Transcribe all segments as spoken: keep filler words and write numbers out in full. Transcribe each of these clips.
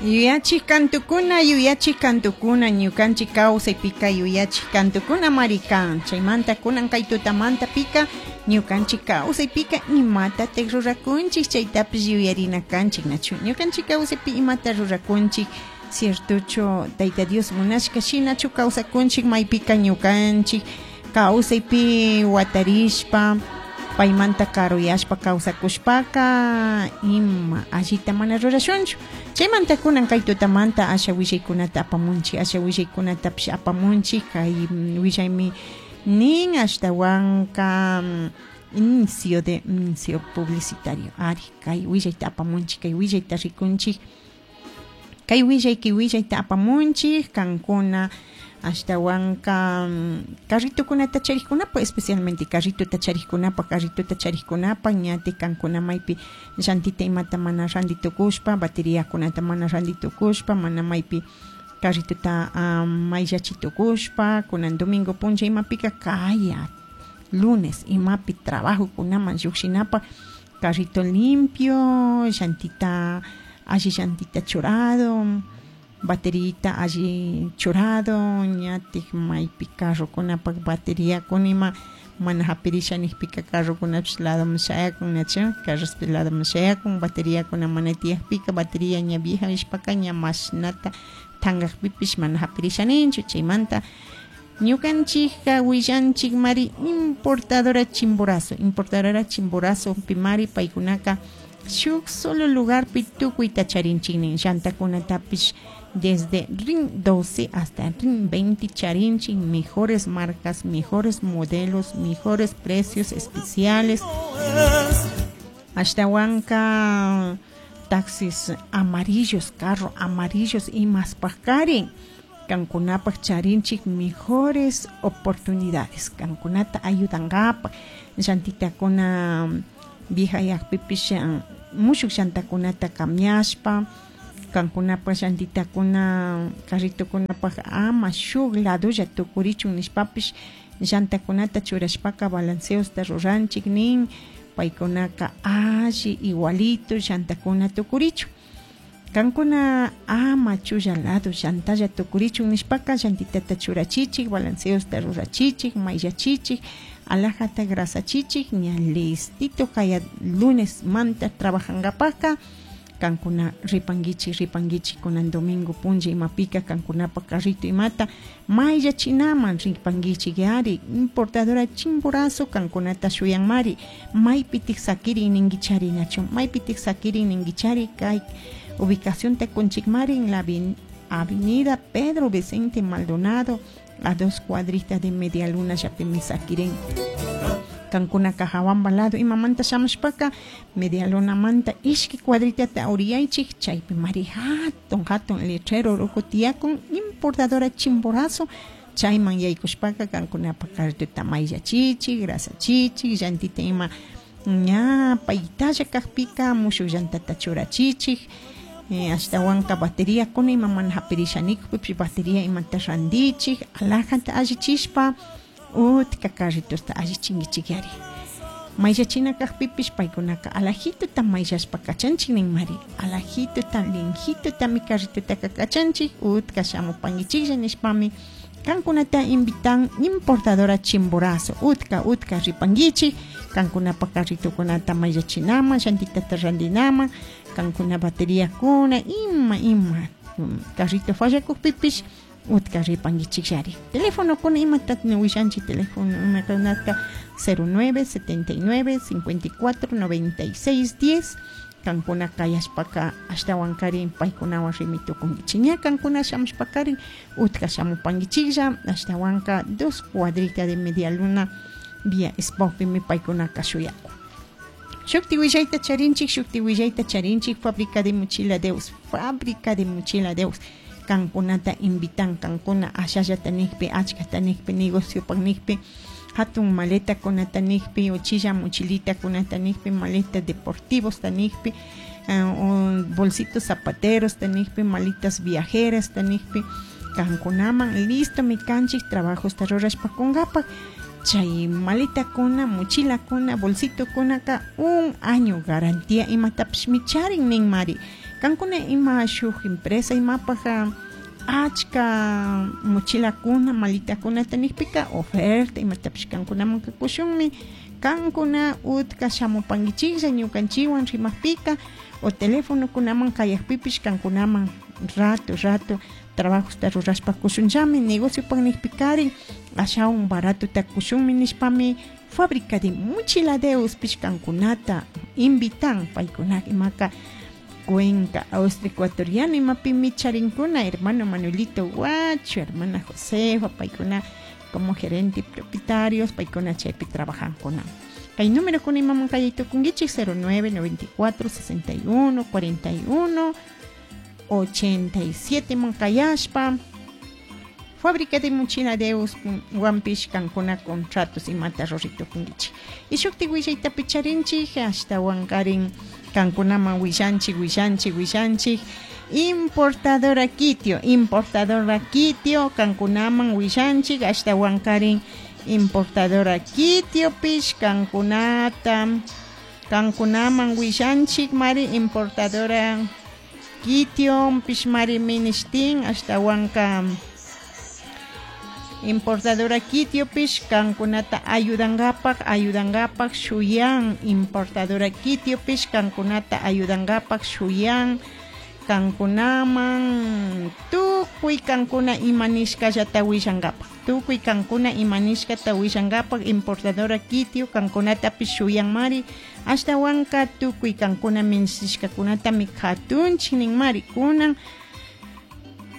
Yuyachik kantukuna, yuyachik kantukuna, ñukanchik kawsaypika yuyachik kantukuna mari kan. Chaymanta kunan kay tutamanta pika ñukanchik kawsaypika imatatik rurakunchik, chaytapish yuyarina kanchik, nachu? Ñukanchik kawsaypi imata rurakunchik, ciertochu Tayta Dios munashka shinachu kawsakunchik, maypika ñukanchik kawsaypi watarishpa paymanta karuyashpa kawsakushpaka ima allita mana rurashunchu. Chaymanta kunan kay tutamanta asha willaykunata apamunchik, asha willaykunatapish apamunchik. Kay willaymi nin ashtawanka inicio de inicio publicitario. Ari, kay willayta apamunchik, kay willayta rikunchik, kay willay kay willayta apamunchik kankuna ashtawanka carritokunata charikkunapa, especialmente carritota charikkunapa, carritota charikkunapa ñati kankuna maypi llantita imata mana ranti tukushpa, bateriakunata mana ranti tukushpa, mana maypi carritota um, mayllachi tukushpa, kunan domingo punlla imapika kaya lunes imapi trabajo kunaman llukshinapa carrito limpio, llantita alli llantita churado, baterita alli churado, ñatik maypi carrokunapak bateriakuna ima mana hapirisha nikpika carrokunapish ladoman shayakun, nachu? Carrospish ladoman shayakun, bateriakuna mana tiyakpika bateria ña vieja nishpaka ña mashnata tankakpipish mana hapirisha ninchu. Chaymanta ñukanchikka willanchik mari importadora Chimborazo, importadora Chimborazo pimari paykunaka shuk solo lugarpi tukuyta charinchik nin, llantakunatapish desde RIN doce hasta RIN veinte charinchik, mejores marcas, mejores modelos, mejores precios especiales. Ashtawanka taxis amarillos, carro amarillos y más pakarin. Kankunapak charinchik mejores oportunidades. Kankunata ayudankapa. Llantitakuna vieja yakpipish mushuk llantakunata cambiashpa. Kankunapak llantitakuna carritokunapak ama shuk ladolla tukurichun nishpapish llantakunata churashpaka balanceosta ruranchik nin, paykunaka alli igualito llantakuna tukurichun. Kankuna ama chulla lado llantalla tukurichun nishpaka llantitata churachichik, balanceosta rurachichik, mayllachichik, alajata grasachichik, ña listito kaya lunes manta trabajankapaka. Kankuna ripanguichik, ripanguichik kunan domingo punlla imapika kankunapa carrito imata mayllachinaman ripanguichik yari importadora Chimborazo kankunata shuyanmari maypitik sakirin ninguichari nachu, maypitik sakirin ninguichari kay ubicación te kunchikmari en la avenida Pedro Vicente Maldonado a dos cuadritas de media luna yapimi sakirin. Kankunaka hawamba lado imamanta shamushpaka media luna manta ishki cuadritata uriyaychik chaypi mari hatun hatun letrero ruku tiyakun importadora Chimborazo chayman yaykushpaka kankunapa carrituta mayllachichik, grasachichik, llantita ima ña paytalla kaqpika mushuk llantata churachichik. Eh, ashtawanka bateria kuna ima mana hapirisha nikpipish bateria imata randichik, alajata allichishpa utka carritosta allichinkichik yari. Mayllachina kaqpipish paykunaka alajituta mayllashpa kachanchik nin mari, alajituta linjitutami carritotaka kachanchik utka shamupankichiklla nishpami kankunata invitan importadora Chimborazo utka utka ripankichik kankunapa carritokunata mayllachinaman, llantitata randinaman, kankuna bateriakuna ima ima carrito fallakukpipish utka ripankichik yari. Teléfono kuna imata willanchik teléfono imakunata cero nueve setenta y nueve cincuenta y cuatro noventa y seis diez kankuna kayashpaka ashtawankarin paykunawan rimi tukunkichik ña kankuna shamushpakarin utka shamupankichiklla ashtawanka dos cuadritas de media luna vía Spopimi paykunaka shuyakun. Shukti willayta charinchik, shukti willayta charinchik, fábrica de mochila Deus, fábrica de mochila Deus. Kankunata invitan, kankuna ashallata nikpi, achkata nikpi, negociopak nikpi, hatun maleta kunata nikpi, uchilla mochilita kunata nikpi, maleta deportivos tanikpi, uh, bolsitos zapateros tanikpi, maletas viajeras tanikpi, kankunaman listo mi kanchik trabajos rurashpa kunkapak. Chay maleta kuna, mochila kuna, bolsito kuna ka un año garantía imatapish micharin nin mari. Kankuna ima shuk empresa imapaj achka mochilakuna malitakunata nikpika oferta imatapish kankunamanka kushunmi. Kankuna utka shamupankichiklla ñukanchikwan rimakpika o telefonokunaman kayakpipish kankunaman rato rato trabajosta rurashpa kushunllami. Negociopak nikpikarin ashawan baratota kushunmi nishpami Fábrica de Mochiladeus pish kankunata invitan. Paykuna imaka Cuenca, Austria ecuatoriana imapimi charinkuna hermano Manuelito Guacho, hermana Josefa, paykuna como gerente y propietarios, paykuna chaypi trabajankuna. Kay número kuna imaman kayay tukunkichik cero nueve noventa y cuatro sesenta y uno cuarenta y uno ochenta y siete man kayashpa. Fábrica de Mochiladeus wampish kankuna contratos imata ruri tukunkichik. Y shukti willayta picharinchik ashtawankarin kankunaman willanchik willanchik willanchik importadora Kitio, importadora Kitio kankunaman willanchik ashtawankarin importadora Kitio pish kankunata kankunaman willanchik mari importadora Kitio pish mari minishtin ashtawanka importadora Kitio pish kankunata ayudangapak ayudangapak shuyan. Importadora Kitio pish kankunata ayudangapak shuyan kankunaman tukuy kankuna imanishkallata willangapak tukuy kankuna imanishkata willangapak importadora Kitio kankunatapish shuyan mari ashtawanka tukuy kankuna minishishkakunatami katunchik nin mari. Kunan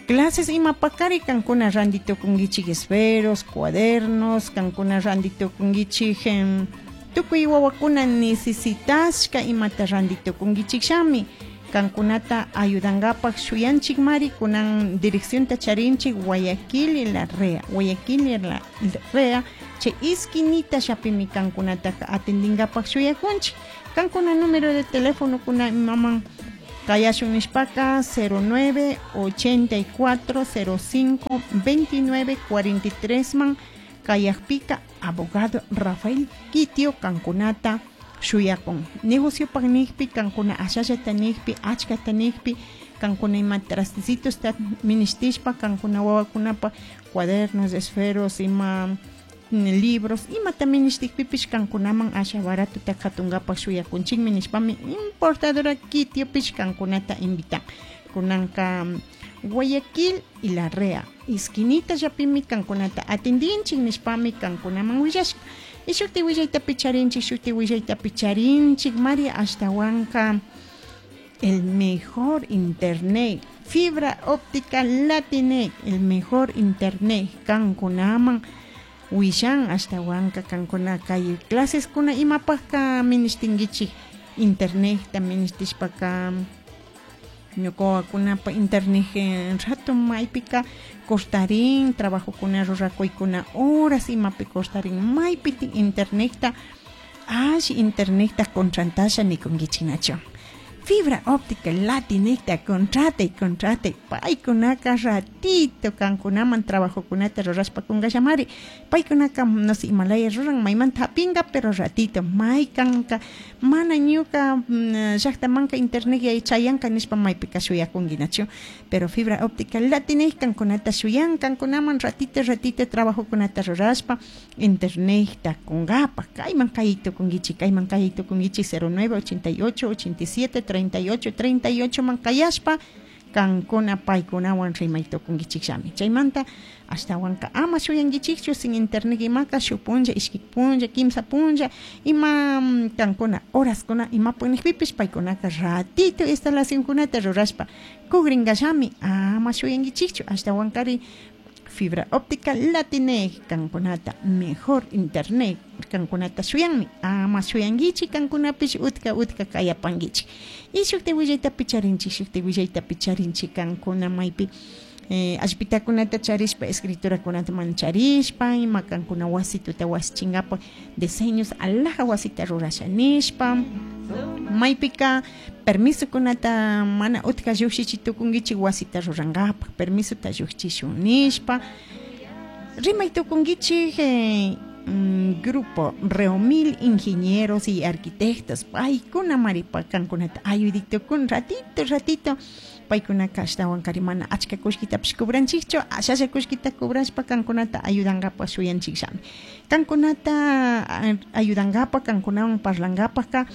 clases imapakari kankuna ranti tukunkichik esferos, cuadernos, kankuna ranti tukunkichik tukuy wawakuna necesitashka imata ranti tukunkichik shami kankunata ayudangapak shuyanchik mari. Kunan direccionta charinchik Guayaquil y La Rea, Guayaquil y La Rea chay esquinita shapimi kankunata atendingapak shuyakunchik. Kankuna número de teléfono kuna imaman kayashun nishpaka cero nueve ochenta y cuatro cero cinco veintinueve cuarenta y tres man kayakpika abogado Rafael Kitio kankunata shuyakun. Negociopak nikpi kankuna ashallata nikpi achkata nikpi kankuna ima trastecitos ta minishtishpa kankuna wawakunapa cuadernos, esferos, ima libros imata minishtikpipish kankunaman asha baratota katungapak shuyakunchikmi nishpami importadora Kitio pish kankunata invitan. Kunanka Guayaquil y La Rea esquinita llapimi kankunata atendinchik nishpami kankunaman willashka. Y shukti willayta picharinchik shukti willayta picharinchik mari ashtawanka el mejor internet fibra óptica Latinec, el mejor internet kankunaman willan ashtawanka kankuna kay clases kuna imapajka minishtinkichik internet ta minishtishpaka ñukawakunapa internet rato maypika cortarin trabajokuna rurakuykuna horas imapi cortarin maypitin internetta alli internetta contratasha nikunkichiknachu. Fibra óptica Latinecta contratay contratay paykunaka ratito kankunaman trabajokunata rurashpa kunkallamari paykunaka no sé imalaya ruran maymanta hapinka pero ratito maykanka mana ñuka llaktamanka internet chayanka nishpa maypika shuyakunkinachu pero fibra óptica Latinec kankunata shuyan kankunaman ratito ratito trabajokunata rurashpa internetta kunkapak kayman kay tukunkichik kayman kay tukunkichik cero nueve ochenta y ocho ochenta y siete treinta y ocho treinta y ocho man kayashpa kankuna paykunawan rimay tukunkichikllami. Chaymanta ashtawanka ama shuyankichikchu sin internet imaka shuk punlla ishki punlla kimsa punlla ima kankuna horaskuna imapak nikpipish paykunaka ratito instalacionkunata rurashpa kukrinkallami ama shuyankichikchu ashtawankari fibra óptica Latinec kankunata mejor internet kankunata shuyanmi ama shuyankichik kankunapish utka utka kayapankichik. Y shukti willayta picharinchik shukti willayta picharinchik kankuna maypi eh, allpitakunata charishpa escriturakunata mana charishpa ima kankuna wasituta wasichinkapak diseños alhaja wasita rurasha nishpa maypika permisokunata mana utka llukshichi tukunkichik wasita rurankapak permisota llukchishun nishpa rimay tukunkichik eh, mm, grupo Reomil Ingenieros y Arquitectos paykuna maripa kankunata ayudaytukun ratito ratito paykunaka ashtawankari mana achka kullkitapish cobranchikchu, ashalla kullkita cobrashpa kankunata ayudankapak shuyanchikllami. Kankunata ayudankapak, kankunawan parlankapakka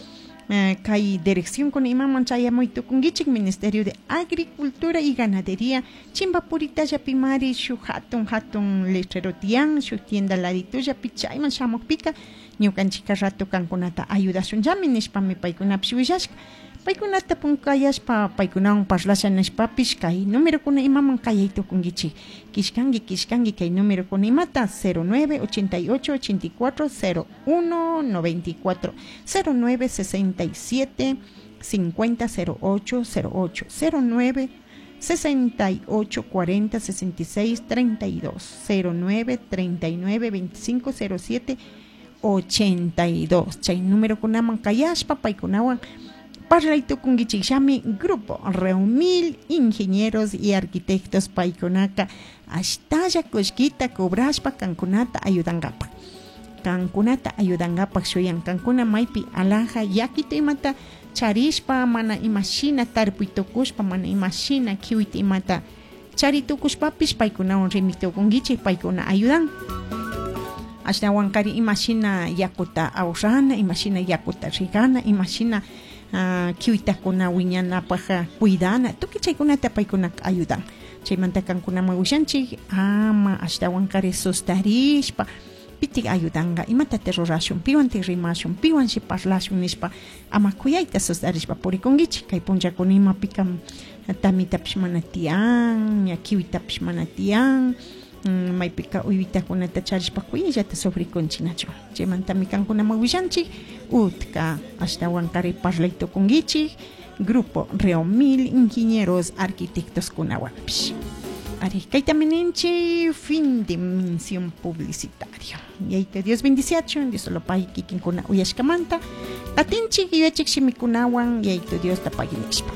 kay dirección kuna imaman chayamuy tukunkichik Ministerio de Agricultura y Ganadería Chimpapuritallapimari shuk hatun hatun letrero tiyan shuk tienda laditullapi chayman shamukpika ñukanchika rato kankunata ayudashunllami nishpami paykunapish willashka. Paykunata punkayashpa paykunawan parlasha nishpapish kay numerokuna imaman kayay tukunkichik kishkanki kishkanki kay numerokuna imata cero nueve ochenta y ocho ochenta y cuatro cero uno noventa y cuatro cero nueve sesenta y siete cincuenta cero ocho cero ocho cero nueve sesenta y ocho cuarenta sesenta y seis treinta y dos cero nueve treinta y nueve veinticinco cero siete ochenta y dos. Chay numerokunaman kayashpa paykunawan parlay tukunkichikllami Grupo Reumil Ingenieros y Arquitectos paykunaka ashtalla kullkita cobrashpa kankunata ayudankapak. Kankunata ayudankapak shuyan kankuna maypi alhaja yakita imata charishpa mana imashina tarpuy tukushpa mana imashina kiwita imata chari tukushpapish paykunawan rimi tukunkichik paykuna ayudan. Ashtawankari imashina yakuta ahorrana, imashina yakuta rigana, imashina Uh, kiwitakuna wiñanapaj cuidana tukuy chaykunata paykunaka ayudan. Chaymanta kankunaman willanchik ama ashtawankari sustarishpa pitik ayudanka imatata rurashun piwantik rimashun piwanshi parlashun nishpa ama kuyayta sustarishpa purikunkichik kay punllakuna imapika tamitapish mana tiyan ña kiwitapish mana tiyan maypika uywitakunata charishpa kuyayllata sufrikunchik nachu. Chaymantami kankunaman willanchik utka ashtawankari parlay tukunkichik Grupo Reomil Ingenieros Arquitectos kunawanpish. Ari kaytami ninchik fin de mención publicitario. Yayta Dios bendiciachun, Dios solo pay kikinkuna uyashkamanta. Atinchik yuyachik shimikunawan yayta Dios tapaginishpa.